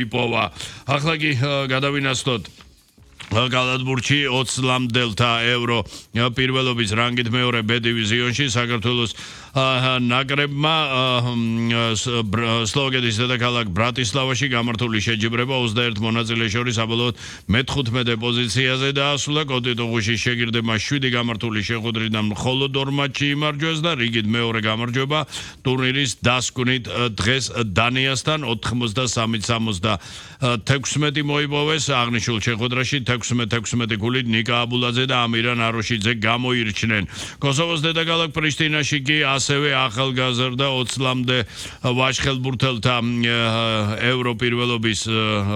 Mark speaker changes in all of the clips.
Speaker 1: იპოვა. ახლა კი გადავინაცვლოთ გალათბურთში 20 ლამდელთა ევრო პირველობის რანგით მეორე B დივიზიონში საქართველოს ნაკრებმა სლოვაკეთის დედაქალაქ ბრატისლავაში გამართული შეჯიბრება 21 მონაწილეს შორის საბოლოოდ მე-15 პოზიციაზე დაასრულა. კოტიტოღუში შეგირდებმა 7 გამართული შეხვედრიდან მხოლოდ 2 მატჩი იმარჯვეს და რიგით მეორე გამარჯვება ტურნირის დასკვნით დღეს დანიასთან 83-76 მოიპოვეს. აღნიშნულ შეხვედრაში 16 გულით ნიკა აბულაძე და ამირან აროშიძე გამოირჩნენ. კოსოვოს დედაქალაქ პრიშტინაში კი ასევე ახალგაზრდა 20 ლამდე ვაჟხელბურთელთა ევრო პირველობის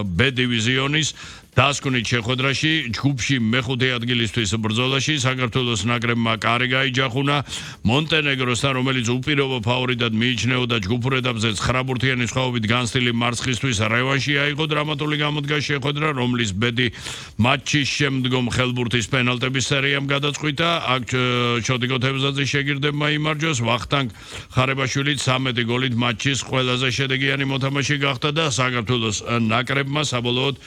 Speaker 1: B დივიზიონის დასკვნით შეხვედრაში ჯგუფში მე-5 ადგილისთვის ბრძოლაში საქართველოს ნაკრებმა კარი გაიჯახუნა მონტენეგროსთან, რომელიც უპირობო ფავორიტად მიიჩნეოდა ჯგუფურ ეტაპზე 9 ბურთიანი სხვაობით განცდილი მარცხისთვის რევანში აიღო დრამატული გამოდგა შეხვედრა, რომლის ბედი მატჩის შემდგომ ხელბურთის პენალტების სერიამ გადაწყვიტა. აქ ჩოდიკო თევზაძის შეგირდებმა იმარჯვეს, ვახტანგ ხარებაშვილი 13 გოლით მატჩის ყველაზე შედეგიანი მოთამაშე გახდა და საქართველოს ნაკრებმა საბოლოოდ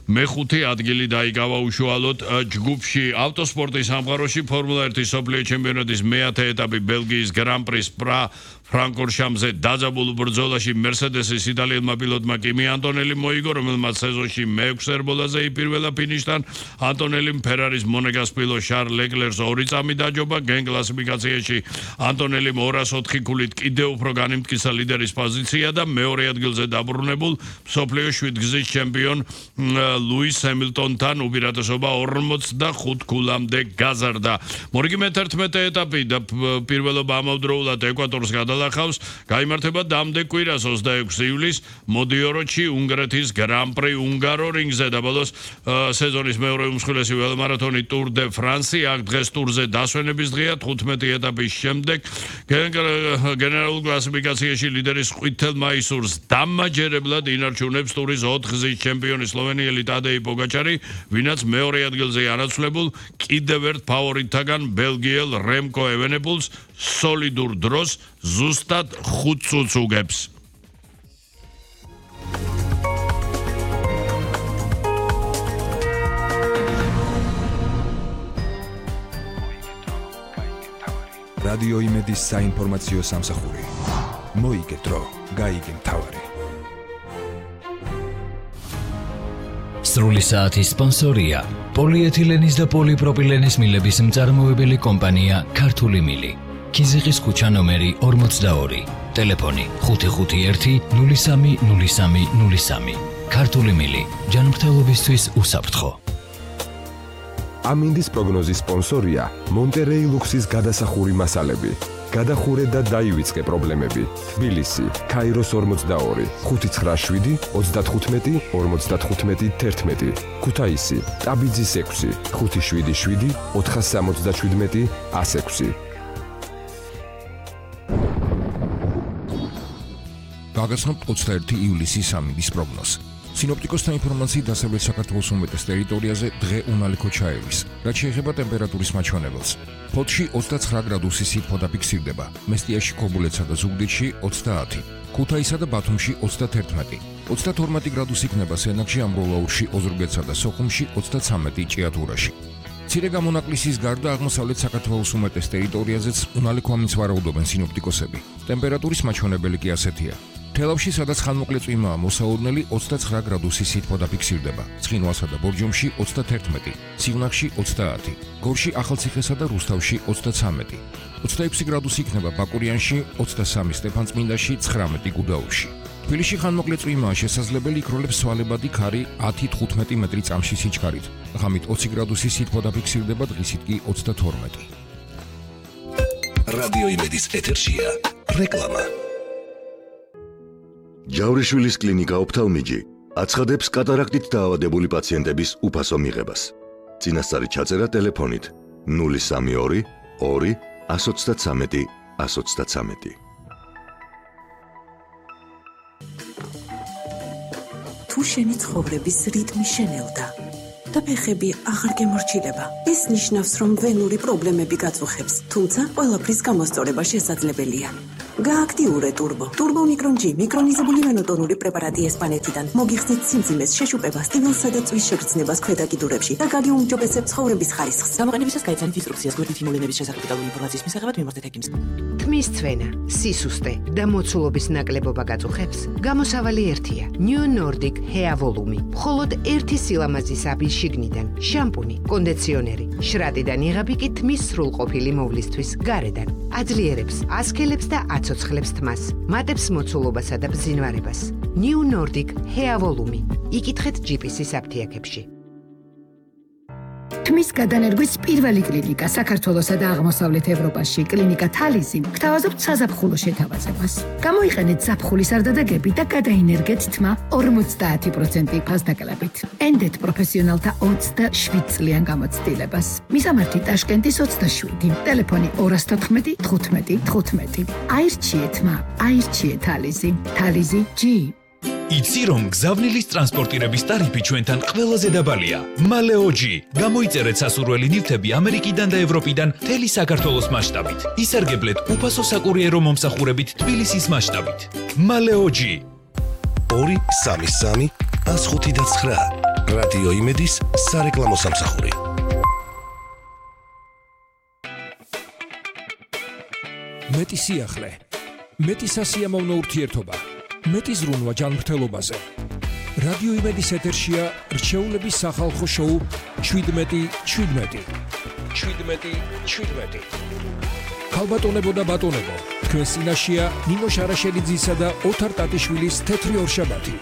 Speaker 1: მე-5 ადგილი დაიკავა უშუალოდ ჯგუფში. ავტოსპორტის სამყაროში ფორმულა 1 მსოფლიო ჩემპიონატის მე-10 ეტაპი ბელგიის გრან-პრის ფრანკფურტში დაძაბულ ბრძოლაში მერსედესის იტალიელმა პილოტმა კიმი ანტონელი მოიგო, რომელმაც სეზონში მე-6 ერბოლაზე იპირველა ფინიშთან. ანტონელიმ ფერარის მონეგას პილოტ შარლ ლეკლერს 2 წამი დაჯობა. გენ კლასიფიკაციაში ანტონელიმ 204 გულით კიდევ უფრო განიმტკიცა ლიდერის პოზიცია და მეორე ადგილზე დაბრუნებულ მსოფლიო 7 გზის ჩემპიონ ლუის ჰემილტონთან უპირატესობა 45 გულამდე გაზარდა. მორიგი მე-11 ეტაპი და პირველობა ამავდროულად ეკვატორს გადალახავს. გაიმართება დამდე კვირას 26 ივლისს მოდიოროში უნგრეთის გრან-პრი უნგარორინგზე და ბოლოს სეზონის მეორე უმსხვილესი ველომარათონი ტურ დე ფრანსი. აქ დღეს ტურზე დასვენების დღეა 15 ეტაპის შემდეგ. გენერალურ კლასიფიკაციაში ლიდერის ყვითელ მაისურს დამაჯერებლად ინარჩუნებს ტურის 4 გზის ჩემპიონი სლოვენიელი ტადეი პოგაჩარი, ვინაც მეორე ადგილზე ანაცვლებულ კიდევ ერთ ფავორიტთაგან ბელგიელ რემკო ევენეპულს სოლიდურ დროს ზუსტად 5 წუთს უგებს.
Speaker 2: რადიო იმედის საინფორმაციო სამსახური. მოიგეთრო, გაიგე მთავარი.
Speaker 3: სრული საათის სპონსორია პოლიეთილენის და პოლიპროპილენის მილების მწარმოებელი კომპანია ქართული მილი. ქიზიყის ქუჩა ნომერი 42, ტელეფონი 551-030303. ქართული მილი, ჯანმრთელობისთვის უსაფრთხო.
Speaker 2: ამინდის პროგნოზის სპონსორია მონტერეი ლუქსის გადასახური მასალები. გადახურე და დაივიწყე პრობლემები. თბილისი, ქაიროს 42, 597 35 55 11. ქუთაისი, ტაბიძის 6, 577 477 106.
Speaker 4: გაგაცნობთ 21 ივლისის ამინდის პროგნოზს. სინოპტიკოსთა ინფორმაციით დასავლეთ საქართველოს უმეტეს ტერიტორიაზე დღე უნალიქო ჩაევის, რაც შეეხება ტემპერატურის მაჩვენებელს. ფოთში 29 გრადუსი სითბო დაფიქსირდება, მესტიაში, ქობულეთსა და ზუგდიდში 30, ქუთაისსა და ბათუმში 31, 32 გრადუსი იქნება სენაკში, ამბროლაურში, ოზურგეთსა და სოხუმში 33 ჭიათურაში. მცირე გამონაკლისის გარდა აღმოსავლეთ საქართველოს უმეტეს ტერიტორიაზეც უნალიქო ამინდს ვარაუდობენ სინოპტიკოსები. ტემპერატურის მაჩვენებელი კი ასეთია. თელავში, სადაც ხანმოკლე წვიმაა მოსაურნელი, 29 გრადუსი სითბო დაფიქსირდება, ცხინვალსა და ბორჯომში 31, სიღნაღში 30, გორში, ახალციხესა და რუსთავში 33, 26 გრადუსი იქნება ბაკურიანში, 23 სტეფანწმინდაში, 19 გუდაუთში. თბილისში ხანმოკლე წვიმაა, შესაძლებელი იქროლებს სვალებადი ქარი 10-15 მეტრი წამში სიჩქარით, ღამით 20 გრადუსი სითბო დაფიქსირდება, დღისით კი 32.
Speaker 5: რადიო იმედის ეთერშია რეკლამა.
Speaker 6: ჯავრიშვილის კლინიკა ოფთალმიჯი აცხადებს კატარაქტით დაავადებული პაციენტების უფასო მიღებას. წინასწარი ჩაწერა ტელეფონით 032 2 133 133.
Speaker 7: თუ შენი ცხოვრების რიტმი შენელდა და ფეხები აღარ გემორჩილება, ეს ნიშნავს, რომ ვენური პრობლემები გაწუხებს, თუმცა ყველაფრის გამოსწორება შესაძლებელია. გააქტიურე ტურბო. ტურბო მიკრონ G მიკრონიზებული მონოტონური პრეპარატი ესპანეთიდან. მოგიხსნით სიმძიმეს, შეშუპებას, ტკივილსა და წვის შეგრძნებას ქვედა კიდურებში და გაგიუმჯობესებს ცხოვრების ხარისხს.
Speaker 8: გამოყენებისას გაიცანით ინსტრუქციას გვერდით იმულენების შესახებ დეტალური ინფორმაციის მისაღებად მიმართეთ ჰეკიმს.
Speaker 9: თმის ცვენა, სისუსტე და მოცულობის ნაკლებობა გაწუხებს. გამოსავალი ერთია. New Nordic Hair Volume. მხოლოდ ერთი სილამაზის აბის შიგნიდან. შამპუნი, კონდიციონერი, შრატიდან იღები კი თმის სრულყოფილი მოვლისთვის გარედან. აძლიერებს, ასქელებს და აცოცხლებს თმას. მატებს მოცულობასა და ბზინვარებას. New Nordic Hair Volume. იკითხეთ GPS-ის აფთიაქებში.
Speaker 10: თმის გადანერგვის პირველი კლინიკა საქართველოსა და აღმოსავლეთ ევროპაში, კლინიკა თალიზი, გთავაზობთ საზაფხულო შეთავაზებას. გამოიყენეთ ზაფხულის არდადეგები და გადაინერგეთ თმა 50% ფასდაკლებით. ენდეთ პროფესიონალთა 27 წლიან გამოცდილებას. მისამართი ტაშკენტის 27, ტელეფონი 214 15 15. აირჩიე თმა, აირჩიე თალიზი. თალიზი G.
Speaker 3: იცი რომ გზავნილის ტრანსპორტირების ტარიფი ჩვენთან ყველაზე დაბალია. მალეოჯი. გამოიწერეთ სასურველი ნივთები ამერიკიდან და ევროპიდან მთელი საქართველოს მასშტაბით. ისარგებლეთ უფასო საკურიერო მომსახურებით თბილისის მასშტაბით. მალეოჯი.
Speaker 5: 233 159 რადიო იმედის სარეკლამო სამსახური.
Speaker 4: მეტი სიახლე, მეტი სასიამოვნო ურთიერთობა. მეტი ზრუნვა ჯანმრთელობაზე. რადიო იმედის ეთერშია რჩეულების სახალხო შოუ 17. ქალბატონებო და ბატონებო, თქვენს წინაშეა ნინო შარაშელიძისა და ოთარ ტატიშვილის თეთრი ორშაბათი.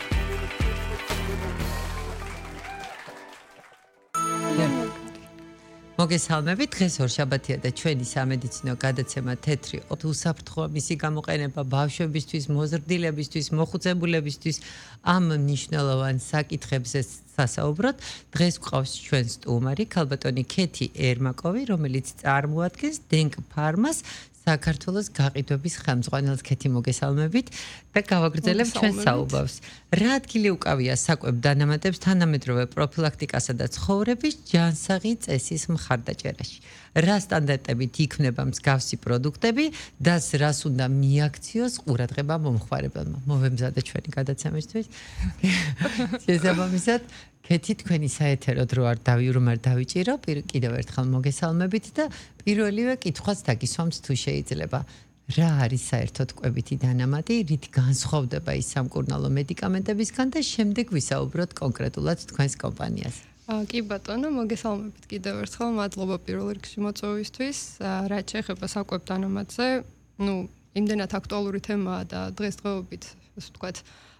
Speaker 11: მოგესალმებით, დღეს ორშაბათია და ჩვენი სამედიცინო გადაცემა თეთრი უსაფრთხოა, მისი გამოყენება ბავშვებისთვის, მოზრდილებისთვის, მოხუცებულებისთვის ამ მნიშვნელოვან საკითხებზე სასაუბროთ. დღეს გვყავს ჩვენ სტუმარი ქალბატონი ქეთი ერმაკოვი, რომელიც წარმოადგენს დენკ ფარმას საქართველოს გაყიდვების ხელმძღვანელს. ქეთი, მოგესალმებით და გავაგრძელებთ ჩვენ საუბარს. რა ადგილი უკავია საკვებ დანამატებს თანამედროვე პროფილაქტიკასა და ცხოვრების ჯანსაღი წესის მხარდაჭერაში? რა სტანდარტებით იქმნება მსგავსი პროდუქტები და რას უნდა მიაქციოს ყურადღება მომხმარებელმა? მოვემზადე ჩვენი გადაცემისთვის. შესაბამისად, ქეთი, თქვენი საეთერო დრო არ დავიჭირო, კიდევ ერთხელ მოგესალმებით და პირველივე კითხვას დაგისვამთ თუ შეიძლება. რა არის საერთოდ კვებითი დანამატი, რით განსხვავდება ის სამკურნალო მედიკამენტებისგან და შემდეგ ვისაუბროთ კონკრეტულად თქვენს კომპანიას.
Speaker 12: კი ბატონო, მოგესალმებით კიდევ ერთხელ, მადლობა პირველ რიგში მოწვევისთვის. რაც შეეხება საკვებ დანამატზე, იმდენად აქტუალური თემაა და დღესდღეობით, ასე ვთქვათ,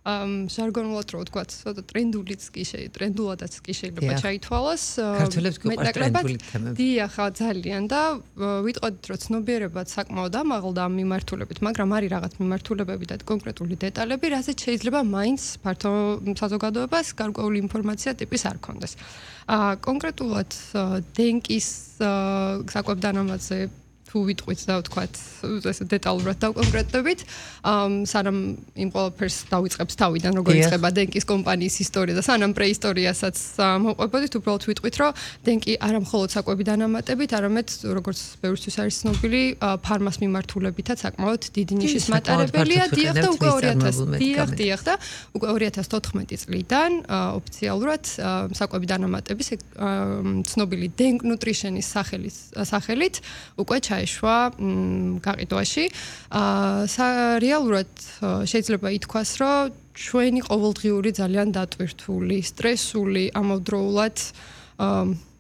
Speaker 12: ჟარგონულად რო ვთქვათ, ცოტა ტრენდულადაც კი შეიძლება ჩაითვალოს.
Speaker 11: ქართველებს გვიყვარს ტრენდული თემები.
Speaker 12: დიახ, ძალიან და ვიტყოდით, რომ ცნობიერებაც საკმაოდ ამაღლდა ამ მიმართულებით, მაგრამ არის რაღაც მიმართულებები და კონკრეტული დეტალები, რასაც შეიძლება მაინც ფართო საზოგადოებას გარკვეული ინფორმაცია ტიპის არ ქონდეს. კონკრეტულად დენკის საკვებ დანამატზე თუ ვიტყვით და ვთქვათ, ესე დეტალურად დავკონკრეტებით, სანამ იმ ყველაფერს დავიწყებს თავიდან, როგორ იწყება დენკის კომპანიის ისტორია და სანამ პრეისტორიასაც მოვყვებოდით, უბრალოდ ვიტყვით, რომ დენკი არა მხოლოდ საკვები დანამატებით, არამედ როგორც ბევრისთვის არის ცნობილი, ფარმას მიმართულებითაც საკმაოდ დიდი ნიშის მატარებელია. დიახ და უკვე 2014 წლიდან ოფიციალურად საკვები დანამატების ცნობილი დენკ ნუტრიშენის სახელით უკვე ჩაეშვა გაყიდვაში. რეალურად შეიძლება ითქვას, რომ ჩვენი ყოველდღიური ძალიან დატვირთული, სტრესული, ამავდროულად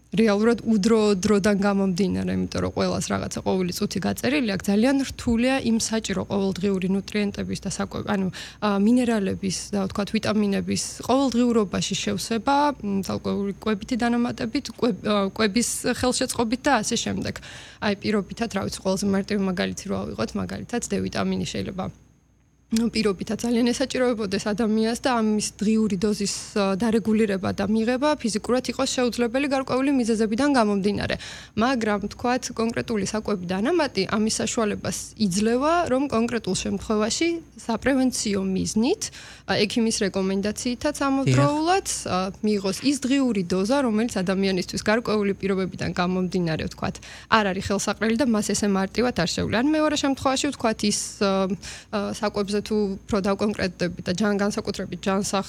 Speaker 12: რეალურად დროდან გამომდინარე, იმიტომ რომ ყველას რაღაცა ყოველი წუთი გაწერილი აქვს, ძალიან რთულია იმ საჭირო ყოველდღიური ნუტრიენტების და მინერალების და ვთქვათ ვიტამინების ყოველდღიურობაში შევსება, თალკოური კვებითი დანამატებით, კვების ხელშეწყობით და ასე შემდეგ. აი პირობითად, რა ვიცი, ყველაზე მარტივი მაგალითი რო ავიღოთ, მაგალითად, D ვიტამინი შეიძლება პირობითაც ძალიან ესაჭიროებოდეს ადამიანს და ამის დღიური დოზის დარეგულირება და მიღება ფიზიკურად იყოს შეუძლებელი გარკვეული მიზეზებიდან გამომდინარე. მაგრამ თქვათ კონკრეტული საკვები დანამატი ამის საშუალებას იძლევა, რომ კონკრეტულ შემთხვევაში საპრევენციო მიზნით ექიმის რეკომენდაციითაც ამავდროულად მიიღოს ის დღიური დოზა, რომელიც ადამიანისთვის გარკვეული პირობებიდან გამომდინარე, თქვათ, არ არის ხელსაყრელი და მას ესე მარტივად არ შეუძლია. ან მეორე შემთხვევაში თქვათ ის საკვებზე თუ უფრო დავკონკრეტდებით და განსაკუთრებით ჯანსაღ